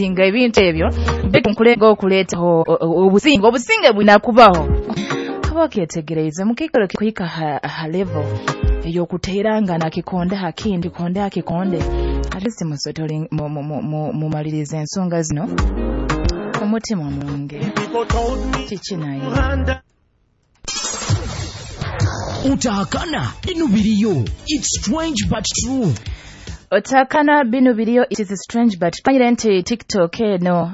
Nga ebintu ebyo nkulenga okuleetaho obusinge, obusinge bwina kubaho. Oba okyetegereize mukiikaro kuhika ha level ey'okuteerangana kikonde ha kindi, kikonde ha kikonde, at least musetole, mumalirize ensonga zino omutima omurungi. Kiki naye? Utahakana binu biriyo. It's strange but true. Otakana binu biriyo, it is strange but manyire nti TikTok eno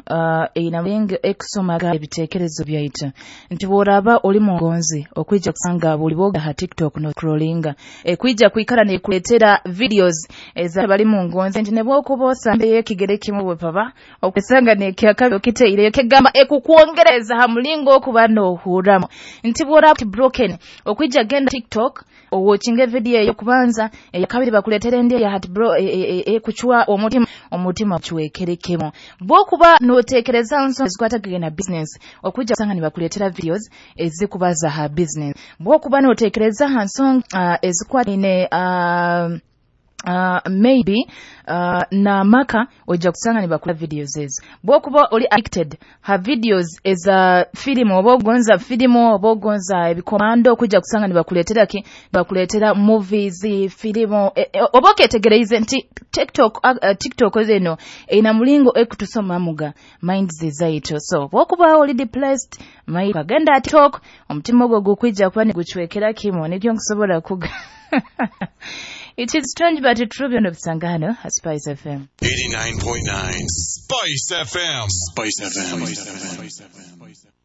eyina mulingo ekusomaga ebiteekerezo byaitu, nti bw'oraaba oli mungonzi okwija kusanga buli bwoga ha TikTok no scrollinga ekwija kwikara nekuleetera videos eza bali mungonzi, nti ne bwokuba osambeyo ekigere kimu bwepaba okusanga nekyakabi okiteireyo kegamba ekukwongereza ha mulingo okuba n'ohurramu, nti bw'oraaba broken okwija genda TikTok owatchinga video eyo kubanza, eyakabiri bakuleetera endi eya heart bro ekucwa omutima, omutima cwekerekemu. Bwokuba noteekereza nsonga ezikwatagana na business, okwija kusanga nibakuleetera videos ezikubaza ha business. Bwokuba noteekereza ha nsonga ezikwataine maybe n'amaka, ojja kusanga nibakuleetera videos ezo. Bwokuba oli addicted ha videos eza firimu, oba ogonza firimu oba ogonza ebikomando, okujja kusanga nibakuleetera ki, bakuleetera movies, firimu. Oba okyetegereize nti TikTok eno eyina mulingo ekutusomamuga minds zaitu. So bwokuba oli depressed, agenda TikTok, omutima ogwo gukwija kuba nigucwekera kimu. Nikyo nkusobola kuga. It is strange but true. Byonna obisanga hano ha Spice FM. 89.9 Spice FM. Spice FM. Spice FM.